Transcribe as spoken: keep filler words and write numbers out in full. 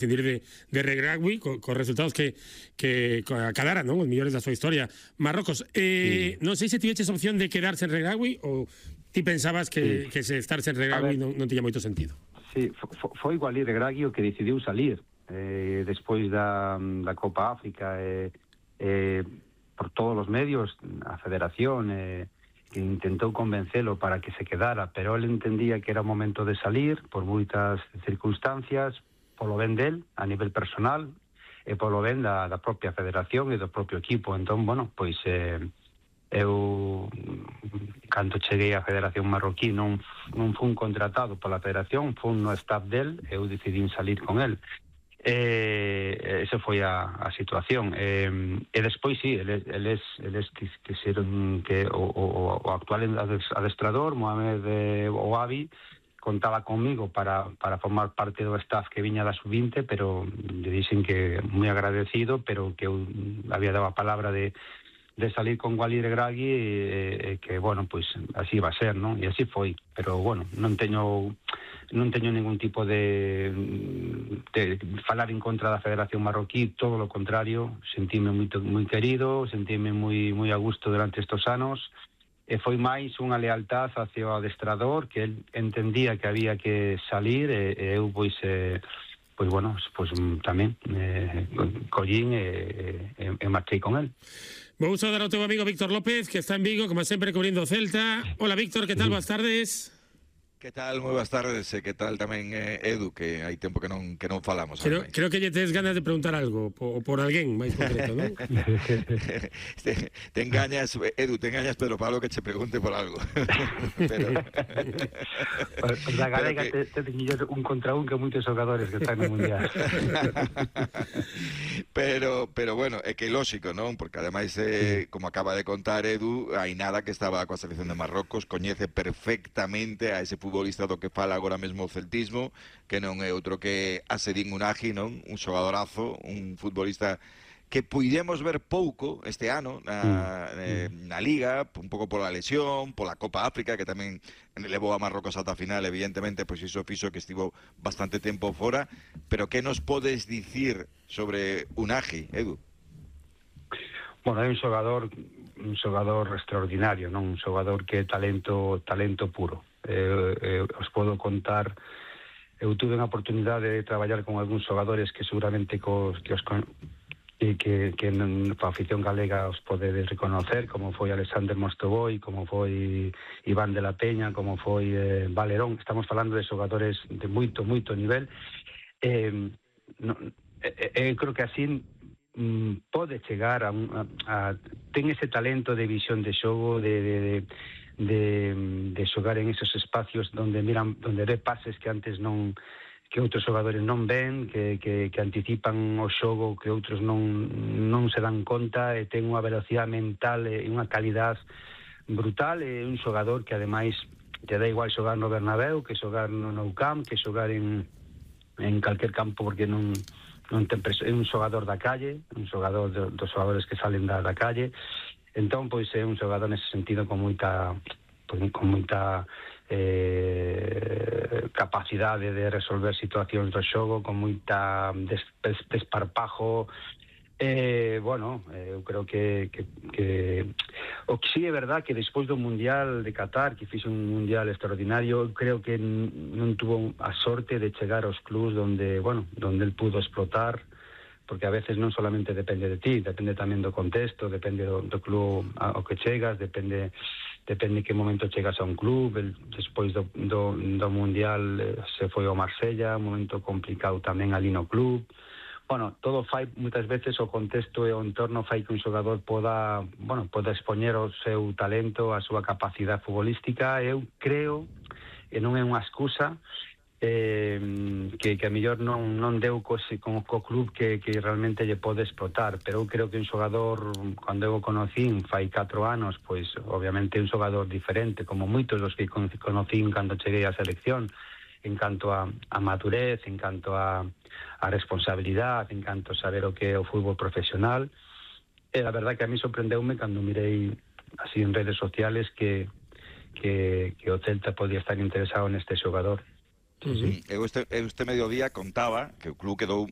decidir de, de rugby con, con resultados que, que acadaran, ¿no?, os millores da súa historia. Marrocos, eh, sí. non sei se tiveches opción de quedarse en rugby ou ti pensabas que, sí. que se estarse en rugby non, non tiña moito sentido. Sí, foi Walid Regragui o que decidiu salir eh, despois da, da Copa África, eh, eh, por todos os medios, a federación eh, que intentou convencelo para que se quedara, pero ele entendía que era o momento de salir por moitas circunstancias, polo ben del, a nivel personal, e polo ben da, da propia federación e do propio equipo. Entón, bueno, pois eh, eu, cando cheguei á Federación Marroquí, non, non fun contratado pola federación, fun no staff del, eu decidín salir con el. Eh, esa foi a, a situación. Eh, e despois, sí, eles, eles, eles que, que seron que o, o, o actual adestrador, Mohamed eh, Ouabi, contaba conmigo para, para formar parte do staff que viña da sub vinte, pero le dixen que moi agradecido, pero que eu había dado a palabra de, de salir con Walid Regragui e, e que, bueno, pois así va a ser, non? E así foi, pero, bueno, non teño non teño ningún tipo de, de falar en contra da Federación Marroquí, todo lo contrario, sentíme moito, moi querido, sentíme moi, moi a gusto durante estes anos, e foi máis unha lealtad hacia o adestrador, que el entendía que había que salir, e, e eu, pois, eh, pois, bueno, pois, tamén eh, collín e, e, e marchei con el. Vou saudar ao teu amigo Víctor López, que está en Vigo, como sempre, cubrindo o Celta. Hola, Víctor, que tal? Boas tardes. Que tal? Moi boas tardes, e que tal tamén eh, Edu, que hai tempo que non que non falamos. Creo, creo que lle tes ganas de preguntar algo por, por alguén máis concreto, non? te, te engañas, Edu, te engañas Pedro Pablo que che pregunte por algo. Pero pues, pues la galega que... te, te teño un contra un que moitos xogadores que están no mundial. pero pero bueno, é que é lógico, non? Porque ademais eh, como acaba de contar Edu, hai nada que estaba coa selección de Marrocos, coñece perfectamente a ese futbolista do que fala agora mesmo o celtismo, que non é outro que Asedin Unagi, non? Un xogadorazo, un futbolista que puidemos ver pouco este ano na, eh, na Liga, un pouco pola lesión, pola Copa África, que tamén levou a Marrocos ata a final, evidentemente, pois iso fixo que estivo bastante tempo fora, pero que nos podes dicir sobre Unagi, Edu? Bueno, é un xogador un xogador extraordinario, non? Un xogador que é talento talento puro. Eh, eh, os podo contar, eu tuve unha oportunidade de traballar con algúns xogadores que seguramente cos, que os e que, que na afición galega os podedes reconocer, como foi Alexander Mostoboi, como foi Iván de la Peña, como foi eh, Valerón. Estamos falando de xogadores de moito, moito nivel. Eh, no, eh, eh, creo que así mm, pode chegar a, a, a ten ese talento de visión de xogo, de, de, de de, de xogar en esos espacios donde miran, donde ve pases que antes non, que outros xogadores non ven, que, que, que anticipan o xogo que outros non, non se dan conta, e ten unha velocidade mental e unha calidad brutal, e un xogador que ademais te dá igual xogar no Bernabéu que xogar no Nou Camp, que xogar en, en calquer campo, porque non, non ten preso, é un xogador da calle, un xogador de, dos xogadores que salen da, da calle. Entón, pois é un xogador nese sentido con moita pois, con moita eh, capacidade de resolver situacións do xogo, con moita des, des, desparpajo. Eh, bueno, eh, eu creo que, que, que o que sí é verdad que despois do Mundial de Qatar, que fixe un Mundial extraordinario, creo que non tuvo a sorte de chegar aos clubs donde, bueno, donde el pudo explotar, porque a veces non solamente depende de ti, depende tamén do contexto, depende do, do club ao que chegas, depende depende que momento chegas a un club. El, despois do, do, do Mundial eh, se foi ao Marsella, un momento complicado tamén ali no club. Bueno, todo fai, moitas veces o contexto e o entorno fai que un xogador poda, bueno, poda expoñer o seu talento, a súa capacidade futbolística. Eu creo, e non é unha excusa, Eh, que, que a mellor non, non deu co, co, co club que, que realmente lle pode explotar, pero eu creo que un xogador, cando eu o conocín fai catro anos, pois obviamente un xogador diferente, como moitos dos que conocín cando cheguei á selección, en canto a, a madurez, en canto a, a responsabilidade, en canto a saber o que é o fútbol profesional. E a verdad que a mí sorprendeume cando mirei así en redes sociales que, que, que o Celta podía estar interesado neste xogador. Sí, sí. Eu, este, eu este mediodía contaba que o club quedou